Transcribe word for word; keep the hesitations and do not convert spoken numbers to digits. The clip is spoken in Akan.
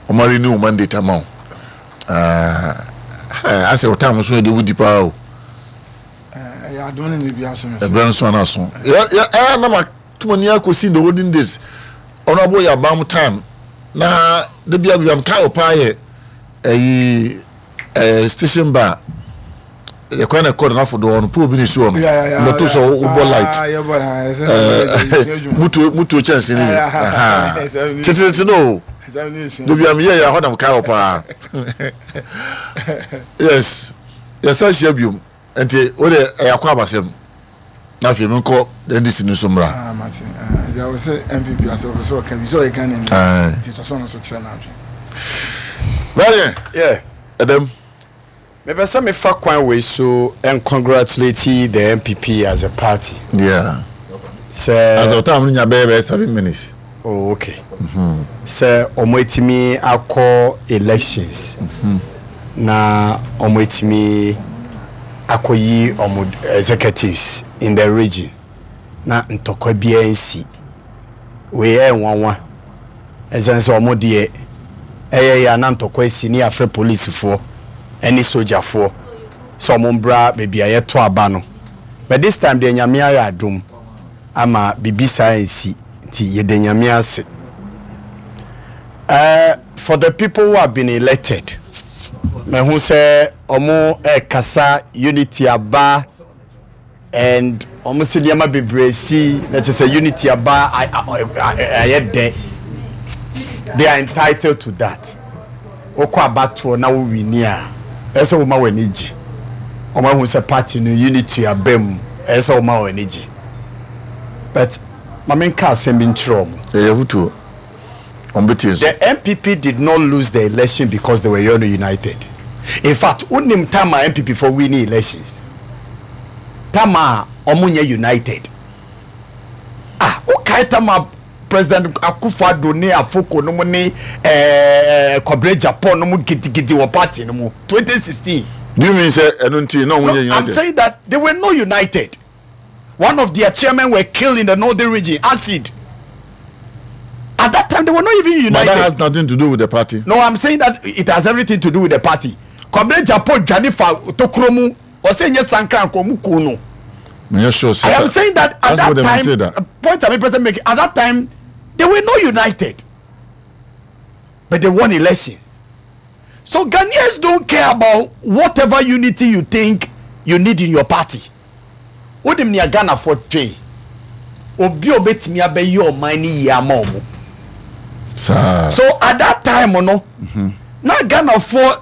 Ɔmo renew mandate ama wo. Asɛ wo time so yɛde wodi paa o. Ɛyɛ adom ne ne bi aso me so. Ɛbrɛ nso ana so ɛyɛ na ma tuma ni akɔsi the olden days, Honourable yɛ abam time na de bia bia mka wo paa yɛ ɛyi ɛɛ station bar yɛkwan na ɛkɔ nanafo do hɔ no, pole bi ne si hɔ no, mbɛto sɛ wobɔ light, mutuo mutuo kyɛnse ne bi tetetete no o, dobi a meyɛ yɛ ahɔ na mka wo paa. Yes, yɛsa hyia biom, nti wo de ɛyɛ akɔ abasɛm na afei menkɔ N D C no so mmra. Ah, mate agya wɔ sɛ N P P asɛ wɔpɛ sɛ ɔka bi sɛ ɔyɛ Ghana ni, nti tɔ sɛ ɔno so kyerɛ no adwen. Bɛyɛ Yeah. ɛdɛm. Mepɛ sɛ mefa kwan wei so and congratulate the N P P as a party. Yeah sɛ as the time no nya bɛyɛ bɛyɛ seven minutes. Oh, okay. Sɛ ɔmo etimi akɔ elections na ɔmo etimi akɔyi ɔmo executives in the region na ntɔkwa biara nsi, wei ɛyɛ nwanwa, ɛsɛn sɛ ɔmo deɛ ɛyɛ yɛ ana ntɔkwa esi ne yɛafrɛ polisifoɔ ɛne sogyafoɔ sɛ ɔmo mbra baabi a yɛto aba no. But this time deɛ, Nyame ayɛ adom ama biribi saa nsi, nti yɛda Nyame ase. uh, for the people who have been elected, mehu sɛ ɔmo ɛkasa unity aba and ɔmo sɛ nneɛma bebree si na kyerɛ sɛ unity aba, ayɛ dɛ. They are entitled to that. Wokɔ abatoɔ na wowin a, ɛsɛ sɛ woma w'ani gye. Ɔmo ahu sɛ party no unity aba mu, ɛsɛ sɛ woma w'ani gye, but maame nka asɛm bi nkyerɛ ɔmo. Ɛyɛ fotuo, ɔmo bɛtie so. The N P P did not lose the election because they were united. In fact, wonim time a N P P for winning elections, time a ɔmo nyɛ united. Ah, wokae time a President Akufo-Addo ne Afoko no mu ne ɛɛ Kwabena Agyapong no mu gidigidi wɔ party no mu twenty sixteen? Do you mean sɛ ɛno nti na ɔmo No, nyɛ I'm united? saying that they were not united. One of their chairmen were killed in the northern region, acid. At that time, they were not even united. But that has nothing to do with the party. No, I'm saying that it has everything to do with the party. Kwabena Agyapong dwane fa tokuro mu, ɔsɛ nye sankran kɔ mu kun no. Menyɛ sure sɛ I am saying that at That's that what they time, say that. uh, point I'm present making, at that time, they were not united, but they won election. So Ghanaians don't care about whatever unity you think you need in your party. Wonim nea Ghanafoɔ twe, obi a obetumi abɛyɛ ɔman no yie ama ɔmo. Saa. So at that time no, na Ghanafoɔ